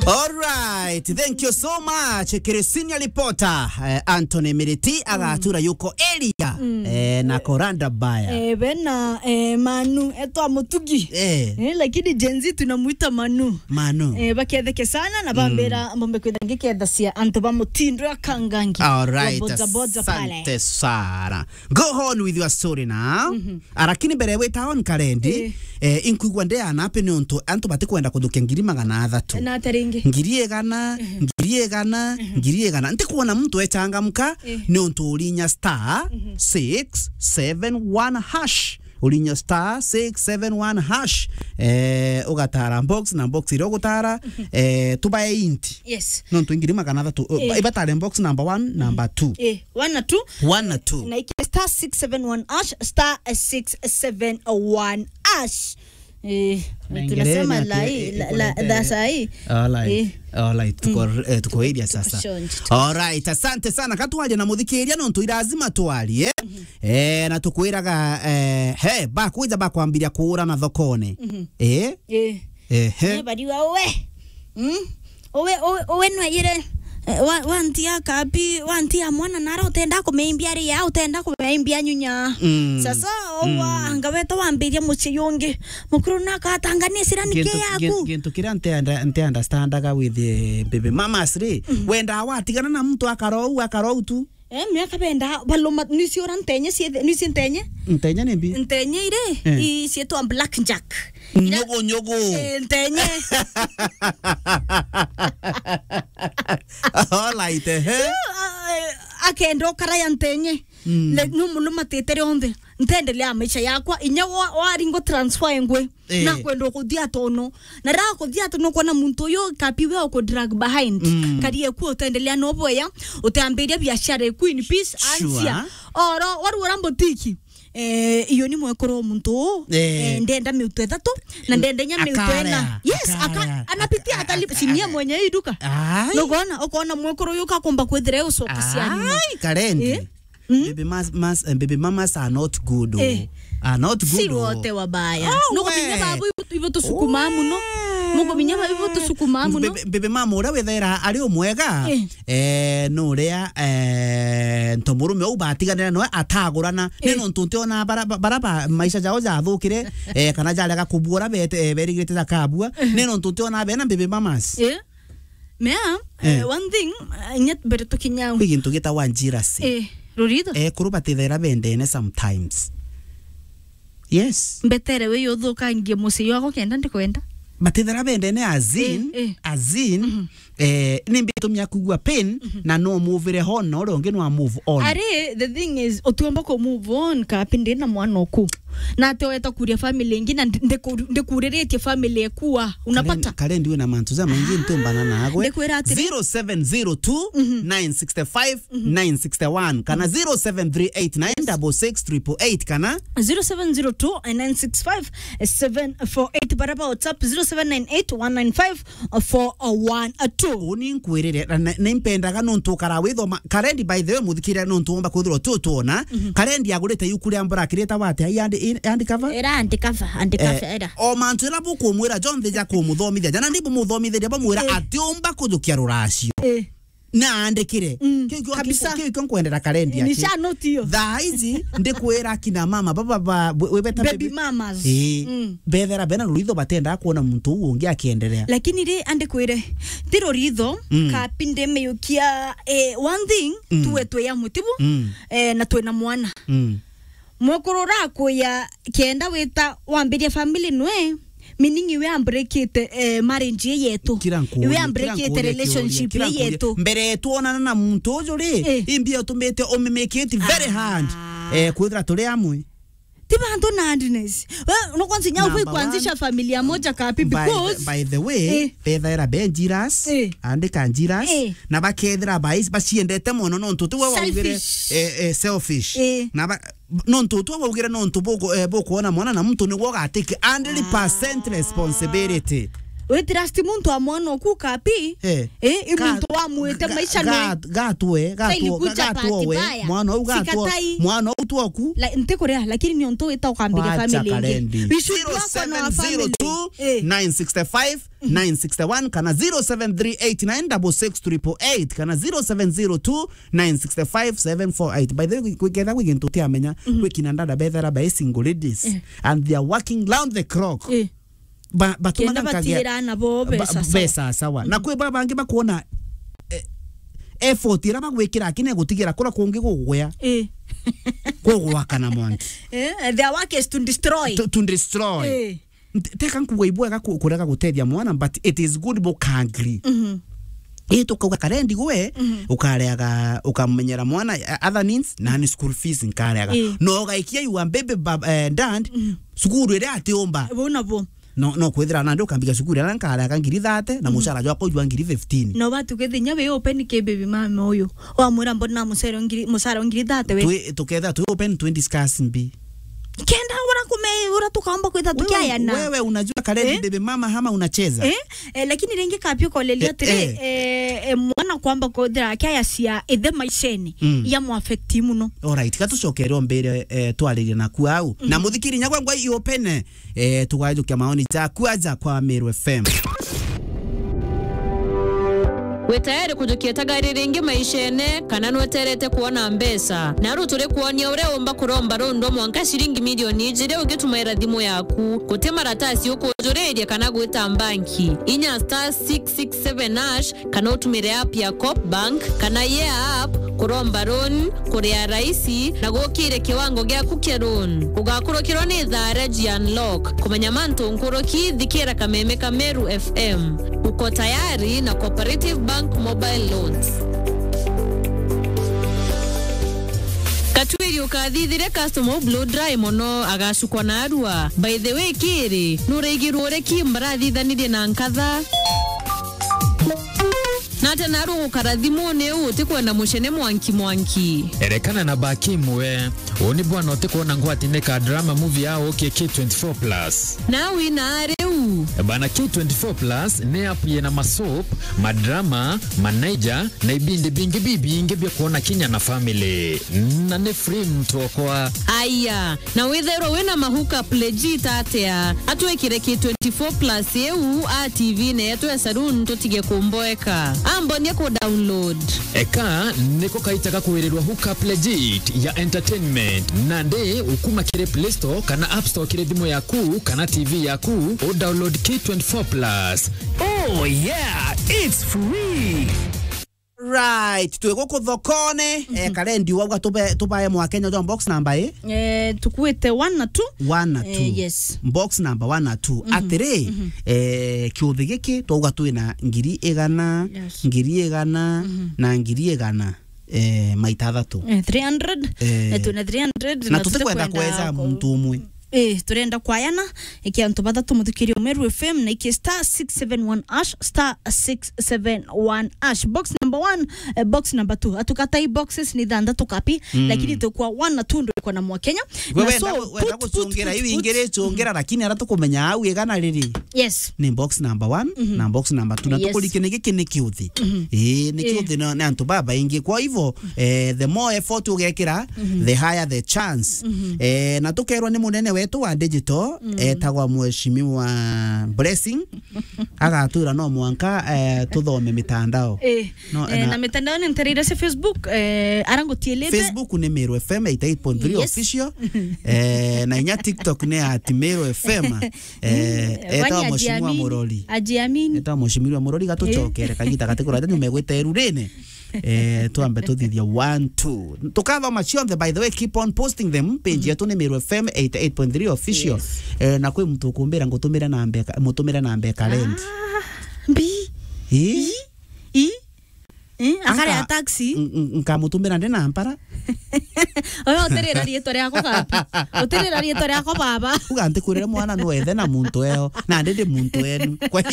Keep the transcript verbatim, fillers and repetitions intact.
All right, thank you so much. Kiri senior reporter, eh, Anthony Miriti, agatura yuko area, eh, na Koranda Baya. Eh, bena, eh, Manu, etwa Mutugi. Eh. Eh, lakini Gen Z tunamuita Manu. Manu. Eh, baketheke sana na bambira mbombe kwitha ngiketha cia antu ba mutindo ya kangangi. All right, boza boza pale. Asante sana. Go on with your story now. Ah, lakini mbere wita on Karendi, eh, inkwigua ndi ana ape ni untu antu batikwenda kuthukia ngiri magana athatu. Na ata ringi? Ngiri igana, ngiri igana, ngiri igana. Ntikwona muntu echangamka ni untu urinya star six seven one hash. Urinya star six seven one hash. Eh, ugatara box na box iria ugutara, eh, tubae inti. Yes. Nontu ngiri magana athatu, eh, ibatare box number one, number two. Eh, one na two. One na two. Na iki star six seven one hash, star six seven one hash. Eh, tunasema lai, la, la, that's ai. All right. Eh. All right, tuko, eh, tuko area sasa. All right, asante sana. Katwaje na muthikiria nontu irazima twarie. Eh, na tukwiraga, eh, he, bakwija bakwambiria kuurana thokone. Eh? Eh. Ehe. Eh, bariwa uwe. Mm? Uwe, uwe, uwe nwayire, eh, wa, wantia kabi, wantia mwana nara utenda kumeimbia ria, utenda kumeimbia nyunya. Mm. Sasa, owa, anga weta wambiria mucii ungi. Mukuru na akatanganira sira ni ke yaku. Gintu kiria nte under-, nte understandaga with, eh, baby mamas ri, wenda watigana na muntu akarou, akarou tu. Eh, miaka benda, baloma, nisiora ntenye, sie, nisi ntenye. Ntenye ni mbi? Ntenye ire, eh, i cietwa black jack. Nyogo, nyogo. Eh, ntenye. All right, eh. Riu, ah, eh, akenda ukara ya ntenye. Mm. Le, no muno matete rionthe. Ntendelea maisha yakwa. Inya wa, waringo transfer engwe. Eh. Na kwenda kuthia tono. Na ra kuthia tono kwona muntu uyu kapi we uku drag behind. Mm. Karie ku utendelea no boya. Uteambiria biashara eku in peace. Sure. Ansia. Oro, waru ora mbotiki. Eh, iyo ni mwekuru wa muntu uu. Eh. Eh, ndenda miutu ithatu, na ndenda inya miutu ina. Yes, aka-, anapitia atali-, si nie mwenye hii duka. Ai. Nugona, ukona mwekuru uyu kakomba kwithira ucoka cia nyuma. Ai, Karendi. Eh? Mm? Baby mas-, mas-, eh, baby mamas are not good, oh. Eh. Are not good, oh. Si wote wabaya. Oh, mukubinya we. Babu ibo, ibo tusukuma muno. Mukubinya babu ibo tusukuma muno. Baby, baby mama uria withaira ari umwega. Eh. Eh, nuria, eh, ntomurume uu batiganira noe atagurana. Eh. Ni nontu ntiona bara, bara ba maisha jao jathukire, eh, kana jarega kubua uria bete-, eh, berigirite jakabua. Eh. Ni nontu ntiona bena baby mamas. Eh. Mea, eh, eh, one thing, eh, inya mbere tukinya au. Kwi gintu gitagwa jealousy. Eh, rurito. Eh, kuru batithaira bendene sometimes. Yes. Mbetere we yuthukangie mucii wako kenda ndikwenda. Batithera bendene as in, eh, eh, as in, mhm, eh, ni mbitumia kugua pain, mhm, na no move on, na uria ungi no move on. Ari, the thing is, utiomba ku move on, kapi ndi na mwana uku. Na ati weta kuria family ingi, na ndi-, ndiku-, ndikuriritie family ekua. Unapata? Karen, Karen, ndiwe na mantu ja maingi ntumbana nagwe. Ndikwira atiri. Zero seven zero two, nine six five, nine six one, kana zero seven three eight nine double six triple eight, kana zero seven zero two nine six five seven four eight, baraba WhatsApp zero seven nine eight one nine five four one two. Uni nkwirire, na, na, nimpendaga nontu ukara withoma. Karendi, by the way, muthikire nontu womba kwithirwa tu tuona. Mhm. Karendi agurite yuku ria mbura kirita wate, ai andi, i-, andi cover? Era andi cover, andi cover, eh, era. O mantu ira bukumwira jonthe ja kumuthomithia, jana ndi bumuthomithiria bamwira, eh, ati umba kujukia ruracio. Eh. Na andikire. Mm, kiu kio, kabisa, kiu kio nkwendera Karendi aki. Nisha note iyo. Thaa ici ndikwira kina mama, baba ba, we-, webeta baby, baby mamas. Eh, mm, bethera bena ruritho batenda kuona muntu uu ungi akiendelea. Lakini ri, andikwire, ti ruritho, mm, kapi ndimiyukia, eh, one thing, mm, tuwe twi amwe, tibu? Mm. Eh, na twina mwana. Mm. Mwekuru urakuya kenda wita wambiria family nwe, meaning iwe ambreakite, eh, marriage ye yetu. Kira nkuria, iwe ambreakite kira nkuria relationship ye yetu. Mbere twonana na muntu uju ri, eh, imbi utumite umimikiti very hard. Ah. Eh, kwithira turi amwe. Ti bantu na hardness. We, no kwanza inya ufai kuanzisha familia moja kapi, because by the, by the way, eh, bethaira benjiras, eh, andika njiras, eh, na bakethira bai-, baciendete mono nontu ti we waugire, selfish, eh, eh, selfish. Eh. Na ba-, nontu tu waugire nontu buku-, eh, bukuona mwana na muntu niguo ugatake hundred percent responsibility. We trust muntu wa mwana oku kapi? Eh. Eh, i Ga-, muntu wamwite ga-, maisha ga-, no. Gatwe, gatwe, gatwe we. Mwana u gatwe. Sikatai. Mwana u twoku. La, ntikuria, lakini ni untu wita ukambire family ingi. Wacha karendi. We should work on our family. Eh. Zero seven zero two, nine six five, nine six one, kana zero seven three eight nine six six triple eight, kana zero seven zero two, nine six five, seven four eight. By the way, kwi-, kwiketha kwi gintu utiamenya, mhm, kwi kina dada bethera by single ladies, eh, and they are working round the clock. Eh. Ba-, batumana. Kenda nkagea batira nabo ba-, mbeca, sawa. Mbeca, sawa. Na, mhm, kwi ba bangi bakuona, eh, effort ira bagwikira akine gutigira kura kungi gugwea. Eh. Kugwakana mwanki. Eh, their work is to destroy. To, to destroy. Eh. Nte-, teka nkuga ibwega ku-, kurega gutethia mwana, but it is good buka agree. Mhm. Ii tukauga karendi gwe, mhm, ukareaga, ukamenyera mwana, eh, other needs, na ni school fees nkareaga. Ii. No ugaikia you are baby bab-, eh, dad, mhm, cukuru iria atiumba. Bau nabo. No, no kwithira nandi ukambiga cukuru iria nkareaga ngiri thirty, na, mhm, mucara jwakwa jwa ngiri fifteen. No batu kwithinya wi open ki baby mama uyu. Wamwira mbona mucara ngiri, mucara ngiri thirty we. Twi-, tukethira twi open twenty scars mbi. Kenda ura kume-, ura tukaomba kwitha tukiayana. Wewe, wewe unajua karendi, eh, baby mama hama unacheza? Eh? Eh, lakini ringi kapio kolelia, eh, atiri, eh, eh, eh, mwana kwamba kwithira akiaya cia ithe maisheni, mm, ya mu affect muno. Alright, gatucokere ombere, eh, twaririe naku au. Mm. Na muthikiri nyagwa ngwa i open, eh, tugajukia maoni jaku aja kwa Meru F M. Wi tayari kujukia tagari ringi maishene, kana nweterete kuona mbeca? Naru turi kuonia uria umba kuromba rundu mwanka ciringi milioni ijiri ugitumaira thimu yaku. Guti maratasi ukujuriria kana gwita mbanki. Inya star six six seven hash, kana utumire app ya Coop Bank, kana Yeah app, kuromba loan, kuria raisi, na gukire kiwango giaku kia loan. Ugakurukirwa ni thaa ria G Unlock. Kumenya mantu nkuruki, thikira kameme ka Meru F M. Uko tayari na Cooperative Bank Mobile Loans. Katwiri ukathithire customer u blow dry mono, agacukwa na arua. By the way, kiri, nuraigirwe uria ki mbarathithanirie na nkatha? Na ata naru gukara thimuni iu utikwenda mucene mwanki mwanki? Erekana na baki imwe. Uu ni bwana utikwona ngwatine ka drama movie ya ukie K twenty-four plus. Na wina riu? Bana, K twenty-four plus ni app yina masoap, madrama, manaija, na ibindi bingi bibingi bia kwona kinya na family. Na ni free mtu okwa. Aya, na withairwa wina ma hookup legit atia? Atwikire K twenty-four plus iu a T V-ini yetu ya saloon tutige kumboeka. Ambonie ku download. Eka niko kaita ga kwirirwa hookup legit ya entertainment. Nandi ukuma kiri Play Store kana App Store kiri thimu yaku kana T V yaku, u download K twenty-four plus. Oh yeah, it's free. Right, twi guku thokone, eh, Karendi wauga tube-, tubae Mwakenya jwa box number i? Eh, tukuite one na two. One na two. Eh, yes. Box number one na two. Mhm. Atiri, mhm, eh, kiuthi giki twauga twina ngiri igana, yes, ngiri igana, mhm, na ngiri igana, eh, maita athatu. Eh, three hundred. Eh. Eh, twina three hundred, na na tutikwenda tutikwenda kweja ku- muntu umwe. Eh, turenda kwayana, ikia antu bathatu muthikiri Meru F M na ikia star six seven one hash, star six seven one hash. Box number one, eh, box number two. Atukatai boxes ni thanthatu kapi, mm, lakini tukwa one na two ndo iko na Mwakenya. Gwe na wenda, so, wenda put, put, gucungira put, iu put, ingiri icungira, mm, lakini ara tukumenya au igana riri. Yes. Ni box number one, mhm, na box number two. Na, yes, tukurikie ni giki ni kiuthi. Mhm. Ii, ni, eh, kiuthi na, ni antu babaingi. Kwa hivyo, eh, the more effort ugekira, mhm, the higher the chance. Mhm. Eh, na tukerwa ni munene wetu wa digital, mm, etagwa Mheshimiwa Blessing, agatwira no mwanka, eh, tuthome mitandao. Eh, no, eh, na, na mitandao ni ntereire cia Facebook, eh, ara ngutielete. Facebook ni Meru F M eighty-eight point three, yes, official. Eh, na inya TikTok ni at Meru F M. Eh, mm, etagwa kwani Mheshimiwa ajiamini? Murori. Ajiamini. Etagwa Mheshimiwa Murori, gatucokere, eh, kagita gatikuraja, nyuma egwita erurine. Eh, twambe tuthithia one, two. Tukathoma cionthe, by the way, keep on posting them. Page, mhm, yetu ni Meru F M eighty-eight point three official. Yes. Eh, na kwi muntu ukumbira ngutumire namba eka-, mutumire namba eka rent. Ah, mbi. Eh? I? I? Eh, akare a taxi. Nka-, n-, n-, nkamutumira ndi na mpara. Oyo utirira riitwa riakwa kapi? Utirira riitwa riakwa baba? Uga ntikwirire mwana nwethe na muntu eo, na ndi ndi muntu enu. Kwa